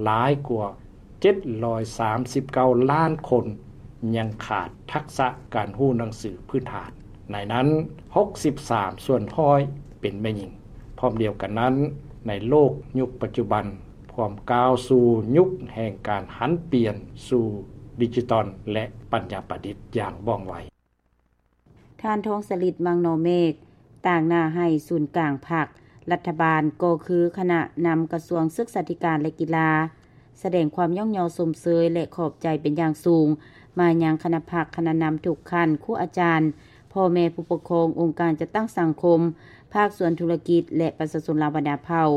ຫຼາຍກວ່າເຈັດຮ້ອຍສາມສິບເກົ້າລ້ານຄົນ ຍັງຂາດທັກສະການຮູ້ໜັງສືພື້ນຖານ, ໃນນັ້ນຫົກສິບສາມສ່ວນຮ້ອຍເປັນແມ່ຍິງ. ພ້ອມດຽວກັນນັ້ນ, ໃນໂລກຍຸກປັດຈຸບັນ ພວມກ້າວສູ່ຍຸກແຫ່ງການຫັນປ່ຽນສູ່ດິຈິຕອນ ແລະ ປັນຍາປະດິດຢ່າງວ່ອງໄວ. ທ່ານ ທອງສະລິດ ມັງນໍເມກ ຕາງໜ້າໃຫ້ສູນກາງພັກ, ລັດຖະບານ ກໍຄືຄະນະນຳກະຊວງສຶກສາທິການ ແລະ ກິລາ ສະແດງຄວາມຍ້ອງຍໍຊົມເຊີຍ ແລະ ຂອບໃຈເປັນຢ່າງສູງ ມາຍັງຄະນະພັກ, ຄະນະນຳທຸກຂັ້ນ, ຄູອາຈານ, ພໍ່ແມ່ຜູ້ປົກຄອງ, ອົງການຈັດຕັ້ງສັງຄົມ, ພາກສ່ວນທຸລະກິດ ແລະ ປະຊາຊົນລາວບັນດາເຜົ່າ,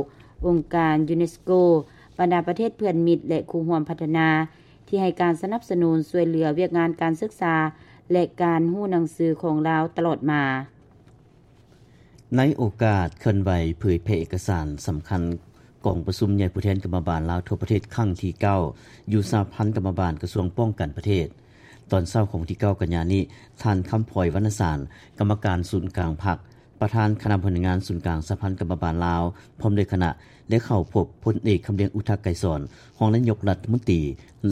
ອົງການຢູເນສໂກ, ບັນດາປະເທດເພື່ອນມິດ ແລະ ຄູ່ຮ່ວມພັດທະນາ ທີ່ໃຫ້ການສະໜັບສະໜູນຊ່ວຍເຫຼືອວຽກງານການສຶກສາ ແລະ ການຮູ້ໜັງສືຂອງລາວຕະຫຼອດມາ. ໃນໂອກາດເຄື່ອນໄຫວເຜີຍແຜ່ເອກະສານສຳຄັນກອງປະຊຸມໃຫຍ່ຜູ້ແທນກຳມະບານລາວທົ່ວປະເທດຄັ້ງທີເກົ້າ ຢູ່ສະຫະພັນກຳມະບານກະຊວງປ້ອງກັນປະເທດ, ຕອນເຊົ້າຂອງວັນທີເກົ້າກັນຍານີ້, ທ່ານ ຄຳພອຍ ວັນນະສານ ກຳມະການສູນກາງພັກ, ປະທານຄະນະບໍລິຫານງານສູນກາງສະຫະພັນກຳມະບານລາວ ພ້ອມດ້ວຍຄະນະ ໄດ້ເຂົ້າພົບພົນເອກ ຄຳລຽງ ອຸທະໄກສອນ ຮອງນາຍົກລັດຖະມົນຕີ,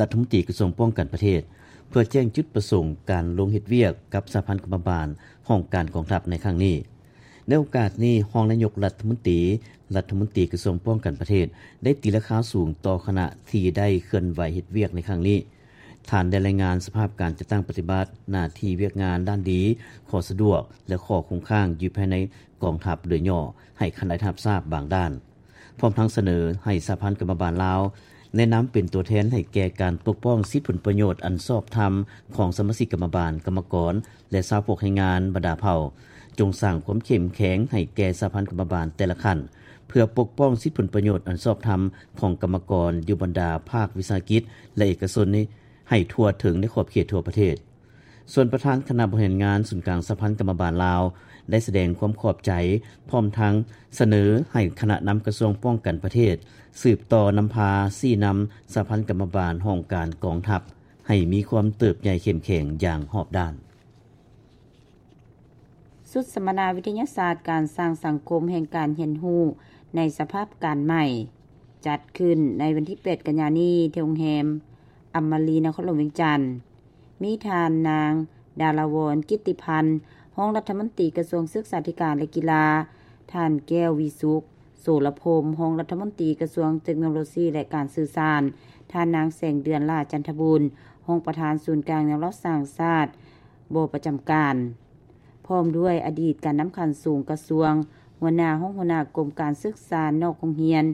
ລັດຖະມົນຕີກະຊວງປ້ອງກັນປະເທດ ເພື່ອແຈ້ງຈຸດປະສົງການລົງເຮັດວຽກກັບສະຫະພັນກຳມະບານຫ້ອງການກອງທັບໃນຄັ້ງນີ້. ໃນໂອກາດນີ້, ຮອງນາຍົກລັດຖະມົນຕີ, ລັດຖະມົນຕີກະຊວງປ້ອງກັນປະເທດ ໄດ້ຕີລາຄາສູງຕໍ່ຄະນະທີ່ໄດ້ເຄື່ອນໄຫວເຮັດວຽກໃນຄັ້ງນີ້. ທ່ານໄດ້ລາຍງານສະພາບການຈັດຕັ້ງປະຕິບັດໜ້າທີ່ວຽກງານດ້ານດີ, ຂໍ້ສະດວກ ແລະ ຂໍ້ຄົງຄ້າງຢູ່ພາຍໃນກອງທັບໂດຍຫຍໍ້ໃຫ້ຄະນະໄດ້ຮັບຊາບບາງດ້ານ, ພ້ອມທັງສະເໜີໃຫ້ສະຫະພັນກຳມະບານລາວ ໃນນາມເປັນຕົວແທນໃຫ້ແກ່ການປົກປ້ອງສິດຜົນປະໂຫຍດອັນຊອບທຳຂອງສະມາຊິກກຳມະບານ, ກຳມະກອນ ແລະ ຊາວພວກແຮງງານບັນດາເຜົ່າ, ຈົ່ງສ້າງຄວາມເຂັ້ມແຂງໃຫ້ແກ່ສະຫະພັນກຳມະບານແຕ່ລະຂັ້ນ ເພື່ອປົກປ້ອງສິດຜົນປະໂຫຍດອັນຊອບທຳຂອງກຳມະກອນຢູ່ບັນດາພາກວິສາຫະກິດ ແລະ ເອກະຊົນໃຫ້ທົ່ວເຖິງໃນຂອບເຂດທົ່ວປະເທດ. ສ່ວນປະທານຄະນະບໍລິຫານງານສູນກາງສະຫະພັນກຳມະບານລາວ ໄດ້ສະແດງຄວາມຂອບໃຈ ພ້ອມທັງສະເໜີໃຫ້ຄະນະນຳກະຊວງປ້ອງກັນປະເທດ ສືບຕໍ່ນຳພາຊີ້ນຳສະຫະພັນກຳມະບານຫ້ອງການກອງທັບ ໃຫ້ມີຄວາມເຕີບໃຫຍ່ເຂັ້ມແຂງຢ່າງຮອບດ້ານ. ຊຸດສຳມະນາວິທະຍາສາດການສ້າງສັງຄົມແຫ່ງການຮຽນຮູ້ໃນສະພາບການໃໝ່ ຈັດຂຶ້ນໃນວັນທີແປດກັນຍານີ້ ທີ່ໂຮງແຮມອຳມະຣີ ນະຄອນຫຼວງວຽງຈັນ. ມີທ່ານນາງ ດາລາວອນ ກິດຕິພັນ ຮອງລັດຖະມົນຕີກະຊວງສຶກສາທິການ ແລະ ກິລາ, ທ່ານ ແກ້ວ ວິສຸກ ໂສລະພົມ ຮອງລັດຖະມົນຕີກະຊວງເຕັກໂນໂລຊີ ແລະ ການສື່ສານ, ທ່ານນາງ ແສງເດືອນ ຫຼ້າຈັນທະບູນ ຮອງປະທານສູນກາງແນວລາວສ້າງຊາດ ບໍ່ປະຈຳການ, ພ້ອມດ້ວຍອະດີດການນຳຂັ້ນສູງກະຊວງ, ຫົວໜ້າຫ້ອງຫົວໜ້າກົມການສຶກສານອກໂຮງຮຽນ,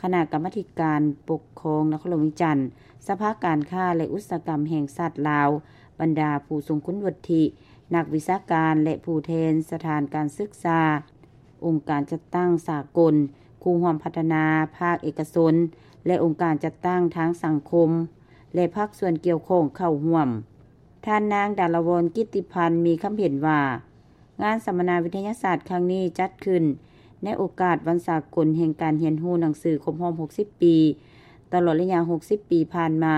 ຄະນະກຳມາທິການປົກຄອງນະຄອນຫຼວງວຽງຈັນ, ສະພາການຄ້າ ແລະ ອຸດສາຫະກຳແຫ່ງຊາດລາວ, ບັນດາຜູ້ຊົງຄຸນວຸດທິ, ນັກວິຊາການ ແລະ ຜູ້ແທນສະຖານການສຶກສາ, ອົງການຈັດຕັ້ງສາກົນ, ຄູ່ຮ່ວມພັດທະນາ, ພາກເອກະຊົນ ແລະ ອົງການຈັດຕັ້ງທາງສັງຄົມ ແລະ ພາກສ່ວນກ່ຽວຂ້ອງເຂົ້າຮ່ວມ. ທ່ານນາງ ດາລາວອນ ກິດຕິພັນ ມີຄຳເຫັນວ່າ, ງານສຳມະນາວິທະຍາສາດຄັ້ງນີ້ຈັດຂຶ້ນໃນໂອກາດວັນສາກົນແຫ່ງການຮຽນຮູ້ໜັງສືຄົບຮອບຫົກສິບປີ. ຕະຫຼອດໄລຍະຫົກສິບປີຜ່ານມາ,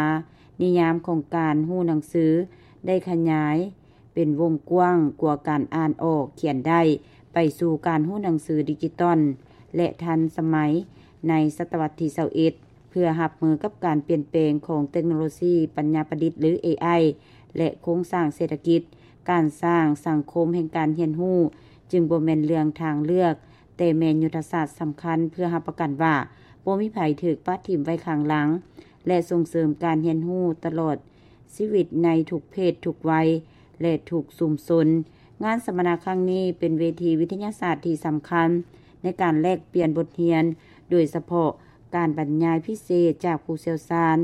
ນິຍາມຂອງການຮູ້ໜັງສືໄດ້ຂະຫຍາຍເປັນວົງກວ້າງກວ່າການອ່ານອອກຂຽນໄດ້ ໄປສູ່ການຮູ້ໜັງສືດິຈິຕອນ ແລະ ທັນສະໄໝໃນສະຕະວັດທີຊາວເອັດ. ເພື່ອຮັບມືກັບການປ່ຽນແປງຂອງເຕັກໂນໂລຊີປັນຍາປະດິດ ຫຼື ເອໄອ ແລະ ໂຄງສ້າງເສດຖະກິດ, ການສ້າງສັງຄົມແຫ່ງການຮຽນຮູ້ ຈຶ່ງບໍ່ແມ່ນເລື່ອງທາງເລືອກ, ແຕ່ແມ່ນຍຸດທະສາດສຳຄັນ ເພື່ອຮັບປະກັນວ່າບໍ່ມີໃຜຖືກປະຖິ້ມໄວ້ຂ້າງຫຼັງ ແລະ ສົ່ງເສີມການຮຽນຮູ້ຕະຫຼອດຊີວິດໃນທຸກເພດ, ທຸກໄວ ແລະ ທຸກຊຸມຊົນ. ງານສຳມະນາຄັ້ງນີ້ເປັນເວທີວິທະຍາສາດທີ່ສຳຄັນໃນການແລກປ່ຽນບົດຮຽນ, ໂດຍສະເພາະ ການບັນຍາຍພິເສດຈາກຜູ້ຊ່ຽວຊານ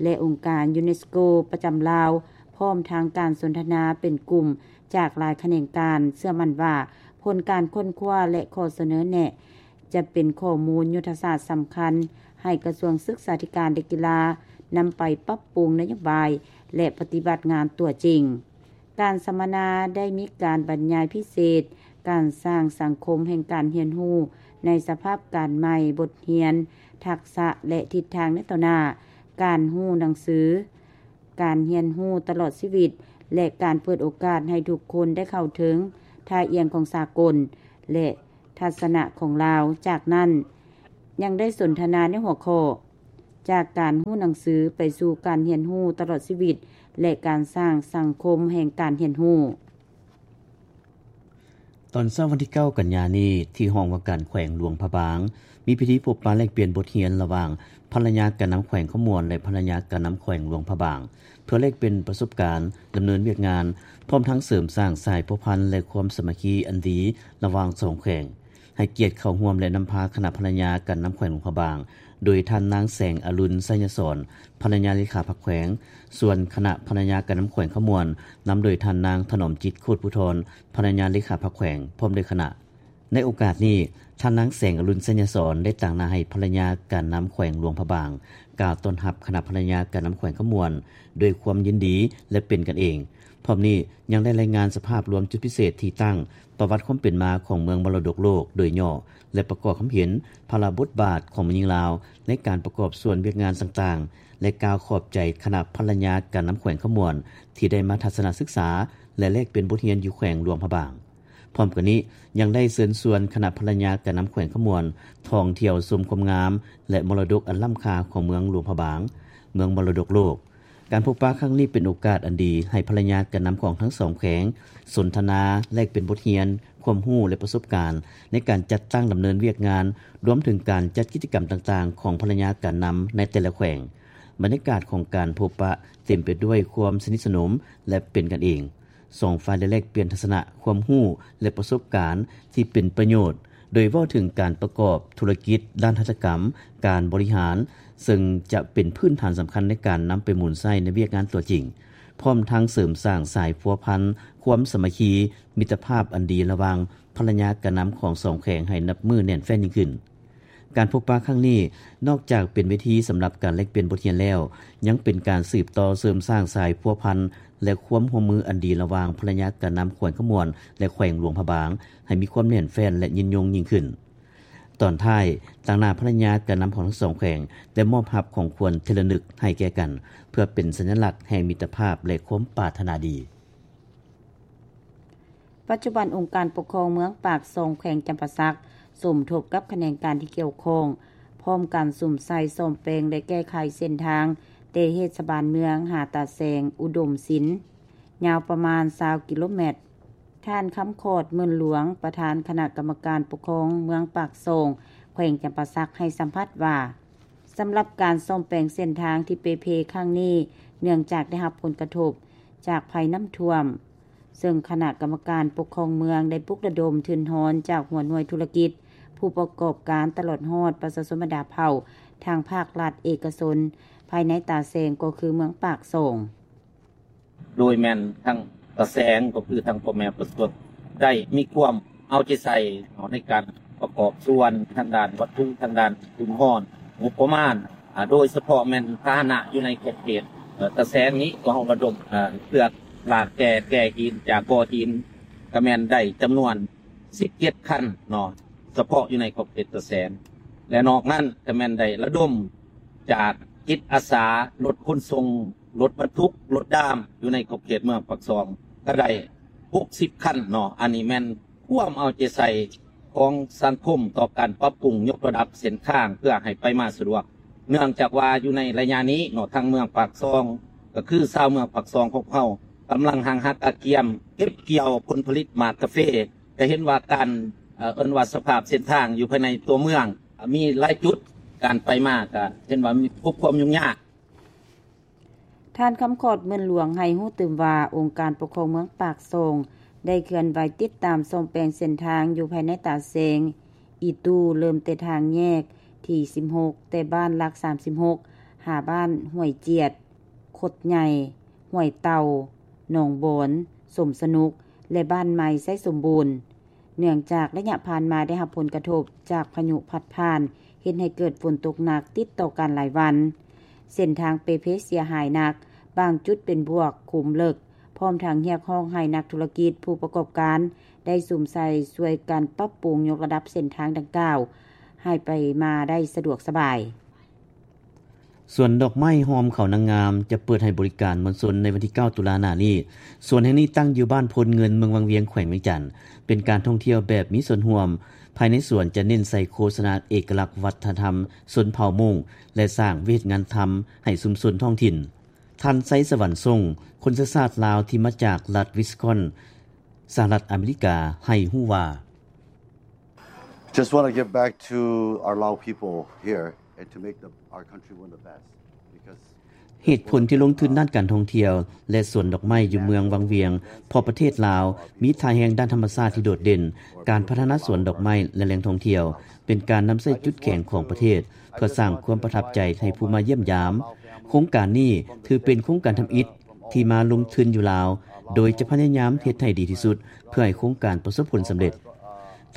ແລະ ອົງການຢູເນສໂກປະຈຳລາວ, ພ້ອມທັງການສົນທະນາເປັນກຸ່ມຈາກຫຼາຍຂະແໜງການ. ເຊື່ອໝັ້ນວ່າ ຜົນການຄົ້ນຄວ້າ ແລະ ຂໍ້ສະເໜີແນະ ຈະເປັນຂໍ້ມູນຍຸດທະສາດສຳຄັນ ໃຫ້ກະຊວງສຶກສາທິການ ແລະ ກິລາ ນຳໄປປັບປຸງນະໂຍບາຍ ແລະ ປະຕິບັດງານຕົວຈິງ. ການສຳມະນາໄດ້ມີການບັນຍາຍພິເສດ, ການສ້າງສັງຄົມແຫ່ງການຮຽນຮູ້ໃນສະພາບການໃໝ່, ບົດຮຽນ, ທັກສະ ແລະ ທິດທາງໃນຕໍ່ໜ້າ, ການຮູ້ໜັງສື, ການຮຽນຮູ້ຕະຫຼອດຊີວິດ ແລະ ການເປີດໂອກາດໃຫ້ທຸກຄົນໄດ້ເຂົ້າເຖິງທ່າອ່ຽງຂອງສາກົນ ແລະ ທັດສະນະຂອງລາວ. ຈາກນັ້ນ ຍັງໄດ້ສົນທະນາໃນຫົວຂໍ້ ຈາກການຮູ້ໜັງສືໄປສູ່ການຮຽນຮູ້ຕະຫຼອດຊີວິດ ແລະ ການສ້າງສັງຄົມແຫ່ງການຮຽນຮູ້. ຕອນເຊົ້າວັນທີເກົ້າກັນຍານີ້ ທີ່ຫ້ອງວ່າການແຂວງຫຼວງພະບາງ ມີພິທີພົບປະແລກປ່ຽນບົດຮຽນລະຫວ່າງພະລະຍາການນຳແຂວງຄຳມ່ວນ ແລະ ພະລະຍາການນຳແຂວງຫຼວງພະບາງ ເພື່ອແລກປ່ຽນປະສົບການດຳເນີນວຽກງານ ພ້ອມທັງເສີມສ້າງສາຍພົວພັນ ແລະ ຄວາມສາມັກຄີອັນດີລະຫວ່າງສອງແຂວງ. ໃຫ້ກຽດເຂົ້າຮ່ວມ ແລະ ນຳພາຄະນະພະລະຍາການນຳແຂວງຫຼວງພະບາງ ໂດຍທ່ານນາງແສງອະລຸນ ໄຊຍະສອນ ພະລະຍາເລຂາພັກແຂວງ, ສ່ວນຄະນະພະລະຍາການນຳແຂວງຄຳມ່ວນ ນຳໂດຍທ່ານນາງຖະໜອມຈິດ ໂຄດພູທອນ ພະລະຍາເລຂາພັກແຂວງ ພ້ອມດ້ວຍຄະນະ. ໃນໂອກາດນີ້, ທ່ານນາງແສງອະລຸນ ໄຊຍະສອນ ໄດ້ຕາງໜ້າໃຫ້ພະລະຍາການນຳແຂວງຫຼວງພະບາງ ກ່າວຕ້ອນຮັບຄະນະພະລະຍາການນຳແຂວງຄຳມ່ວນ ດ້ວຍຄວາມຍິນດີ ແລະ ເປັນກັນເອງ. ພ້ອມນີ້ຍັງໄດ້ລາຍງານສະພາບລວມຈຸດພິເສດທີ່ຕັ້ງ, ປະຫວັດຄວາມເປັນມາຂອງເມືອງມໍລະດົກໂລກໂດຍຫຍໍ້ ແລະ ປະກອບຄຳເຫັນພາລະບົດບາດຂອງແມ່ຍິງລາວໃນການປະກອບສ່ວນວຽກງານຕ່າງໆ ແລະ ກ່າວຂອບໃຈຄະນະພະລະຍາການນຳແຂວງຄຳມ່ວນ ທີ່ໄດ້ມາທັດສະນະສຶກສາ ແລະ ແລກປ່ຽນບົດຮຽນຢູ່ແຂວງຫຼວງພະບາງ. ພ້ອມກັນນີ້ຍັງໄດ້ເຊີນຊວນຄະນະພະລະຍາການນຳແຂວງຄຳມ່ວນ ທ່ອງທ່ຽວຊົມຄວາມງາມ ແລະ ມໍລະດົກອັນລ້ຳຄ່າຂອງເມືອງຫຼວງພະບາງ, ເມືອງມໍລະດົກໂລກ. ການພົບປະຄັ້ງນີ້ເປັນໂອກາດອັນດີໃຫ້ພະລະຍາການນຳຂອງທັງສອງແຂວງສົນທະນາ, ແລກປ່ຽນບົດຮຽນ, ຄວາມຮູ້ ແລະ ປະສົບການໃນການຈັດຕັ້ງດຳເນີນວຽກງານ, ລວມເຖິງການຈັດກິດຈະກຳຕ່າງໆຂອງພະລະຍາການນຳໃນແຕ່ລະແຂວງ. ບັນຍາກາດຂອງການພົບປະເຕັມໄປດ້ວຍຄວາມສະໜິດສະໜົມ ແລະ ເປັນກັນເອງ. ສອງຝ່າຍໄດ້ແລກປ່ຽນທັດສະນະ, ຄວາມຮູ້ ແລະ ປະສົບການທີ່ເປັນປະໂຫຍດ ໂດຍເວົ້າເຖິງການປະກອບທຸລະກິດດ້ານຫັດຖະກຳ, ການບໍລິຫານ, ເຊິ່ງຈະເປັນພື້ນຖານສຳຄັນໃນການນຳໄປໝູນໃຊ້ໃນວຽກງານຕົວຈິງ, ພ້ອມທັງເສີມສ້າງສາຍພົວພັນ, ຄວາມສາມັກຄີ, ມິດຕະພາບອັນດີລະຫວ່າງພະລະຍາການນຳຂອງສອງແຂວງໃຫ້ນັບມື້ແໜ້ນແຟ້ນຍິ່ງຂຶ້ນ. ການພົບປະຄັ້ງນີ້ ນອກຈາກເປັນເວທີສຳລັບການແລກປ່ຽນບົດຮຽນແລ້ວ, ຍັງເປັນການສືບຕໍ່ເສີມສ້າງສາຍພົວພັນ ແລະ ຄວາມຮ່ວມມືອັນດີລະຫວ່າງພະລະຍາການນຳແຂວງຄຳມ່ວນ ແລະ ແຂວງຫຼວງພະບາງ ໃຫ້ມີຄວາມແໜ້ນແຟ້ນ ແລະ ຍືນຍົງຍິ່ງຂຶ້ນ. ຕອນທ້າຍ, ຕາງໜ້າພະລະຍາການນຳຂອງທັງສອງແຂວງ ໄດ້ມອບຮັບຂອງຂວັນທີ່ລະນຶກໃຫ້ແກ່ກັນ, ເພື່ອເປັນສັນຍະລັກແຫ່ງມິດຕະພາບ ແລະ ຄວາມປາດຖະໜາດີ. ປັດຈຸບັນ ອົງການປົກຄອງເມືອງປາກຊ່ອງ ແຂວງຈຳປາສັກ ສົມທົບກັບຂະແໜງການທີ່ກ່ຽວຂ້ອງ ພ້ອມກັນສຸມໃສ່ສ້ອມແປງ ແລະ ແກ້ໄຂເສັ້ນທາງ ແຕ່ເທດສະບານເມືອງຫາຕາແສງ ອຸດົມສິນ ຍາວປະມານຊາວກິໂລແມັດ. ທ່ານ ຄຳຂອດ ໝື່ນຫຼວງ ປະທານຄະນະກຳມະການປົກຄອງເມືອງປາກຊ່ອງ ແຂວງຈຳປາສັກ ໃຫ້ສຳພາດວ່າ, ສຳລັບການສ້ອມແປງເສັ້ນທາງທີ່ເປ່ເພຄັ້ງນີ້ ເນື່ອງຈາກໄດ້ຮັບຜົນກະທົບຈາກໄພນ້ຳຖ້ວມ, ເຊິ່ງຄະນະກຳມະການປົກຄອງເມືອງໄດ້ປຸກລະດົມທຶນຮອນຈາກຫົວໜ່ວຍທຸລະກິດ, ຜູ້ປະກອບການ ຕະຫຼອດຮອດປະຊາຊົນບັນດາເຜົ່າ ທັງພາກລັດ, ເອກະຊົນ ພາຍໃນຕາແສງ ກໍຄືເມືອງປາກຊ່ອງ. ໂດຍແມ່ນທັງຕາແສງ ກໍຄືທັງພໍ່ແມ່ປະຊາຊົນ ໄດ້ມີຄວາມເອົາໃຈໃສ່ເນາະ ໃນການປະກອບສ່ວນທາງດ້ານວັດຖຸ, ທາງດ້ານທຶນຮອນ, ງົບປະມານ, ອາ, ໂດຍສະເພາະແມ່ນພາຫະນະຢູ່ໃນຂອບເຂດ, ເອີ, ຕາແສງນີ້ ກໍເຮົາລະດົມ, ເອີ, ເຄືອລາກແກ່, ແກ່ຫີນຈາກບໍ່ຫີນ ກໍແມ່ນໄດ້ຈຳນວນສິບເຈັດຄັນເນາະ ສະເພາະຢູ່ໃນຂອບເຂດຕາແສງ ແລະ ນອກນັ້ນກໍແມ່ນໄດ້ລະດົມຈາກຈິດອາສາ ລົດຂົນສົ່ງ, ລົດບັນທຸກ, ລົດດາມ ຢູ່ໃນຂອບເຂດເມືອງປາກຊ່ອງ ກໍໄດ້ຫົກສິບຄັນເນາະ. ອັນນີ້ແມ່ນຄວາມເອົາໃຈໃສ່ຂອງສັງຄົມຕໍ່ການປັບປຸງຍົກລະດັບເສັ້ນທາງ ເພື່ອໃຫ້ໄປມາສະດວກ ເນື່ອງຈາກວ່າຢູ່ໃນໄລຍະນີ້ເນາະ ທາງເມືອງປາກຊ່ອງ ກໍຄືຊາວເມືອງປາກຊ່ອງຂອງເຮົາ ກຳລັງຮັ່ງຮັກກະກຽມເກັບກ່ຽວຜົນຜະລິດໝາກກາເຟ ຈະເຫັນວ່າການ, ເອີ, ເອີ້ນວ່າສະພາບເສັ້ນທາງຢູ່ພາຍໃນຕົວເມືອງ ມີຫຼາຍຈຸດ ການໄປມາກໍເຫັນວ່າມີພົບຄວາມຫຍຸ້ງຍາກ. ທ່ານ ຄຳຂອດ ໝື່ນຫຼວງ ໃຫ້ຮູ້ຕື່ມວ່າ ອົງການປົກຄອງເມືອງປາກຊ່ອງ ໄດ້ເຄື່ອນໄຫວຕິດຕາມສ້ອມແປງເສັ້ນທາງຢູ່ພາຍໃນຕາແສງ ອີຕູ ເລີ່ມແຕ່ທາງແຍກທີສິບຫົກ ແຕ່ບ້ານຫຼັກສາມສິບຫົກ ຫາບ້ານຫ້ວຍຈຽດ, ຄົດໃຫຍ່, ຫ້ວຍເຕົ່າ, ໜອງບອນ, ສົມສະໜຸກ ແລະ ບ້ານໃໝ່ໄຊສົມບູນ. ເນື່ອງຈາກໄລຍະຜ່ານມາໄດ້ຮັບຜົນກະທົບຈາກພາຍຸພັດຜ່ານ ເຮັດໃຫ້ເກີດຝົນຕົກໜັກຕິດຕໍ່ກັນຫຼາຍວັນ. ເສັ້ນທາງເປ່ເພເສຍຫາຍໜັກ, ບາງຈຸດເປັນບວກຂຸມເລິກ, ພ້ອມທັງຮຽກຮ້ອງໃຫ້ນັກທຸລະກິດ, ຜູ້ປະກອບການ ໄດ້ສຸມໃສ່ຊ່ວຍກັນປັບປຸງຍົກລະດັບເສັ້ນທາງດັ່ງກ່າວ ໃຫ້ໄປມາໄດ້ສະດວກສະບາຍ. ສວນດອກໄມ້ຫ້ອມເຂົານາງງາມ ຈະເປີດໃຫ້ບໍລິການມວນຊົນໃນວັນທີເກົ້າ ຕຸລາໜ້ານີ້. ສວນແຫ່ງນີ້ຕັ້ງຢູ່ບ້ານໂພນເງິນ ເມືອງວັງວຽງ ແຂວງວຽງຈັນ, ເປັນການທ່ອງທ່ຽວແບບມີສ່ວນຮ່ວມ ພາຍໃນສວນຈະເນັ້ນໃສ່ໂຄສະນາເອກະລັກວັດທະນະທຳຊົນເຜົ່າມົ້ງ ແລະ ສ້າງວຽກເຮັດງານທຳໃຫ້ຊຸມຊົນທ້ອງຖິ່ນ. ທ່ານ ໄຊສະຫວັນ ຊົງ ຄົນເຊື້ອຊາດລາວທີ່ມາຈາກລັດວິສຄອນ ສະຫະລັດອາເມລິກາ ໃຫ້ຮູ້ວ່າ Just want to give back to our Lao people here and to make the, our country one of the best. ເຫດຜົນທີ່ລົງທຶນດ້ານການທ່ອງທ່ຽວ ແລະ ສວນດອກໄມ້ຢູ່ເມືອງວັງວຽງ ເພາະປະເທດລາວມີທ່າແຮງດ້ານທຳມະຊາດທີ່ໂດດເດັ່ນ, ການພັດທະນາສວນດອກໄມ້ ແລະ ແຫຼ່ງທ່ອງທ່ຽວ ເປັນການນຳໃຊ້ຈຸດແຂງຂອງປະເທດ ເພື່ອສ້າງຄວາມປະທັບໃຈໃຫ້ຜູ້ມາຢ້ຽມຢາມ. ໂຄງການນີ້ຖືເປັນໂຄງການທຳອິດທີ່ມາລົງທຶນຢູ່ລາວ, ໂດຍຈະພະຍາຍາມເຮັດໃຫ້ດີທີ່ສຸດ ເພື່ອໃຫ້ໂຄງການປະສົບຜົນສຳເລັດ.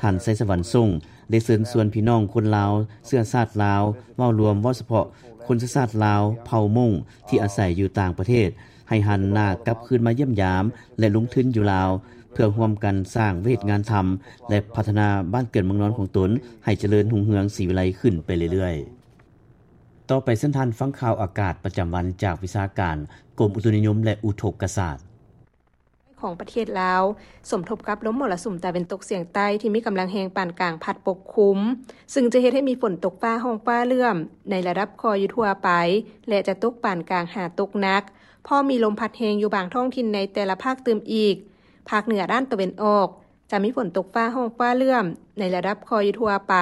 ທ່ານ ໄຊສະຫວັນ ຊົງ ໄດ້ເຊີນຊວນພີ່ນ້ອງຄົນລາວເຊື້ອຊາດລາວເວົ້າລວມ, ເວົ້າສະເພາະຄົນເຊື້ອຊາດລາວເຜົ່າມົ້ງທີ່ອາໄສຢູ່ຕ່າງປະເທດ ໃຫ້ຫັນໜ້າກັບຄືນມາຢ້ຽມຢາມ ແລະ ລົງທຶນຢູ່ລາວ ເພື່ອຮ່ວມກັນສ້າງວຽກເຮັດງານທຳ ແລະ ພັດທະນາບ້ານເກີດເມືອງນອນຂອງຕົນໃຫ້ຈະເລີນຮຸ່ງເຮືອງສີວິໄລຂຶ້ນໄປເລື້ອຍໆ. ຕໍ່ໄປເຊີນທ່ານຟັງຂ່າວອາກາດປະຈຳວັນຈາກວິຊາການກົມອຸຕຸນິຍົມ ແລະ ອຸທົກກະສາດ. ຂອງປະເທດລາວ ສົມທົບກັບລົມມໍລະສຸມຕາເວັນຕົກສຽງໃຕ້ທີ່ມີກຳລັງແຮງປານກາງພັດປົກຄຸມ, ຊຶ່ງຈະເຮັດໃຫ້ມີຝົນຕົກຟ້າຮ້ອງຟ້າເຫຼື້ອມໃນລະດັບຄ່ອຍຢູ່ທົ່ວໄປ ແລະ ຈະຕົກປານກາງຫາຕົກໜັກ, ພ້ອມມີລົມພັດແຮງຢູ່ບາງທ້ອງຖິ່ນໃນແຕ່ລະພາກຕື່ມອີກ. ພາກເໜືອດ້ານຕາເວັນອອກ ຈະມີຝົນຕົກຟ້າຮ້ອງຟ້າເຫຼື້ອມໃນລະດັບຄ່ອຍຢູ່ທົ່ວໄປ,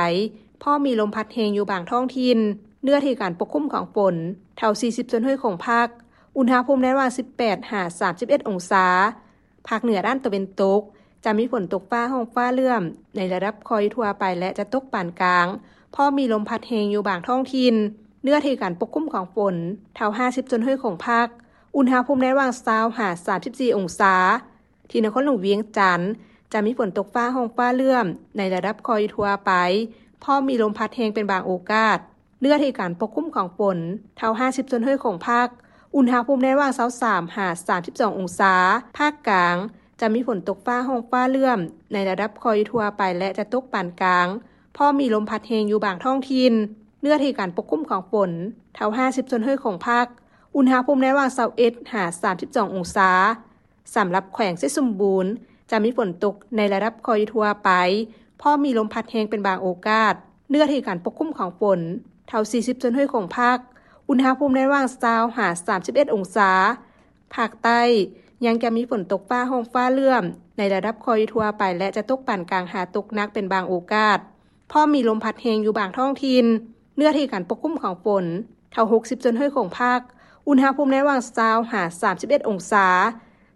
ພ້ອມມີລົມພັດແຮງຢູ່ບາງທ້ອງຖິ່ນ. ເນື້ອທີ່ການປົກຄຸມຂອງຝົນ ເທົ່າ ສີ່ສິບສ່ວນຮ້ອຍຂອງພາກ. ອຸນຫະພູມໃນລະຫວ່າງ ສິບແປດຫາສາມສິບເອັດອົງສາ. ພາກເໜືອດ້ານຕາເວັນຕົກ ຈະມີຝົນຕົກຟ້າຮ້ອງຟ້າເຫຼື້ອມໃນລະດັບຄ່ອຍຢູ່ທົ່ວໄປ ແລະ ຈະຕົກປານກາງ, ພ້ອມມີລົມພັດແຮງຢູ່ບາງທ້ອງຖິ່ນ. ເນື້ອທີ່ການປົກຄຸມຂອງຝົນ ເທົ່າ ຫ້າສິບສ່ວນຮ້ອຍຂອງພາກ. ອຸນຫະພູມໃນລະຫວ່າງ ຊາວຫາສາມສິບສີ່ອົງສາ. ທີ່ນະຄອນຫຼວງວຽງຈັນ ຈະມີຝົນຕົກຟ້າຮ້ອງຟ້າເຫຼື້ອມໃນລະດັບຄ່ອຍຢູ່ທົ່ວໄປ, ພ້ອມມີລົມພັດແຮງເປັນບາງໂອກາດ. ເນື້ອທີ່ການປົກຄຸມຂອງຝົນ ເທົ່າ ຫ້າສິບສ່ວນຮ້ອຍຂອງພາກ. ອຸນຫະພູມໃນລະຫວ່າງ ຊາວສາມຫາສາມສິບສອງອົງສາ. ພາກກາງ ຈະມີຝົນຕົກຟ້າຮ້ອງຟ້າເຫຼື້ອມໃນລະດັບຄ່ອຍຢູ່ທົ່ວໄປ ແລະ ຈະຕົກປານກາງ, ພ້ອມມີລົມພັດແຮງຢູ່ບາງທ້ອງຖິ່ນ. ເນື້ອທີ່ການປົກຄຸມຂອງຝົນ ເທົ່າ ຫ້າສິບສ່ວນຮ້ອຍຂອງພາກ. ອຸນຫະພູມໃນລະຫວ່າງ ຊາວເອັດຫາສາມສິບສອງອົງສາ. ສຳລັບແຂວງໄຊສົມບູນ ຈະມີຝົນຕົກໃນລະດັບຄ່ອຍຢູ່ທົ່ວໄປ, ພ້ອມມີລົມພັດແຮງເປັນບາງໂອກາດ. ເນື້ອທີ່ການປົກຄຸມຂອງຝົນ ເທົ່າ ສີ່ສິບສ່ວນຮ້ອຍຂອງພາກ. ອຸນຫະພູມໃນລະຫວ່າງ ຊາວຫາສາມສິບເອັດອົງສາ. ພາກໃຕ້ ຍັງຈະມີຝົນຕົກຟ້າຮ້ອງຟ້າເຫຼື້ອມໃນລະດັບຄ່ອຍຢູ່ທົ່ວໄປ ແລະ ຈະຕົກປານກາງຫາຕົກໜັກເປັນບາງໂອກາດ, ພ້ອມມີລົມພັດແຮງຢູ່ບາງທ້ອງຖິ່ນ. ເນື້ອທີ່ການປົກຄຸມຂອງຝົນ ເທົ່າ ຫົກສິບສ່ວນຮ້ອຍຂອງພາກ. ອຸນຫະພູມໃນລະຫວ່າງ ຊາວຫາສາມສິບເອັດອົງສາ.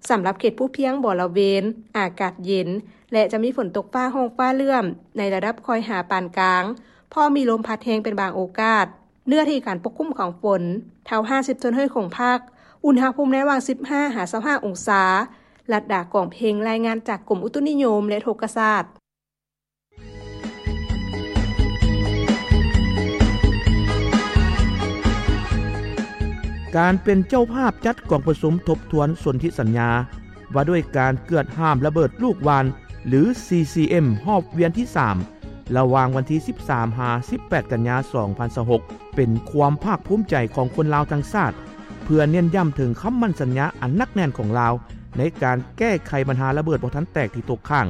ສຳລັບເຂດພູພຽງບໍລະເວນ ອາກາດເຢັນ ແລະ ຈະມີຝົນຕົກຟ້າຮ້ອງຟ້າເຫຼື້ອມໃນລະດັບຄ່ອຍຫາປານກາງ, ພ້ອມມີລົມພັດແຮງເປັນບາງໂອກາດ. ເນື້ອທີ່ການປົກຄຸມຂອງຝົນ ເທົ່າ ຫ້າສິບສ່ວນຮ້ອຍຂອງພາກ. ອຸນຫະພູມໃນລະຫວ່າງ ສິບຫ້າຫາຊາວຫ້າອົງສາ. ລັດດາ ກອງເພັງ ລາຍງານຈາກກົມອຸຕຸນິຍົມ ແລະ ອຸທົກກະສາດ. ການເປັນເຈົ້າພາບຈັດກອງປະຊຸມທົບທວນສົນທິສັນຍາ ວ່າດ້ວຍການເກືອດຫ້າມລະເບີດລູກຫວ່ານ ຫຼື ຊີຊີເອັມ ຮອບວຽນທີສາມ ລະຫວ່າງວັນທີສິບສາມຫາສິບແປດກັນຍາສອງພັນຊາວຫົກ ເປັນຄວາມພາກພູມໃຈຂອງຄົນລາວທັງຊາດ ເພື່ອເນັ້ນຢ້ຳເຖິງຄຳໝັ້ນສັນຍາອັນໜັກແໜ້ນຂອງລາວ ໃນການແກ້ໄຂບັນຫາລະເບີດບໍ່ທັນແຕກທີ່ຕົກຄ້າງ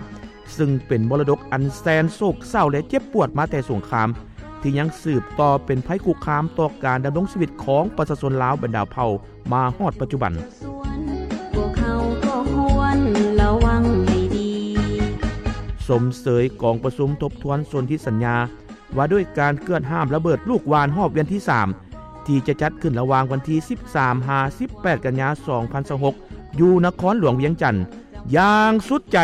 ຊຶ່ງເປັນມໍລະດົກອັນແສນໂສກເສົ້າ ແລະ ເຈັບປວດມາແຕ່ສົງຄາມ ທີ່ຍັງສືບຕໍ່ເປັນໄພຄຸກຄາມຕໍ່ການດຳລົງຊີວິດຂອງປະຊາຊົນລາວບັນດາເຜົ່າມາຮອດປັດຈຸບັນ. ຊົມເຊີຍກອງປະຊຸມທົບທວນສົນທິສັນຍາ ວ່າດ້ວຍການເກືອດຫ້າມລະເບີດລູກຫວ່ານຮອບວຽນທີສາມ ທີ່ຈະຈັດຂຶ້ນລະຫວ່າງວັນທີສິບສາມຫາສິບແປດກັນຍາສອງພັນຊາວຫົກ ຢູ່ນະຄອນຫຼວງວຽງຈັນ ຢ່າງສຸດໃຈ.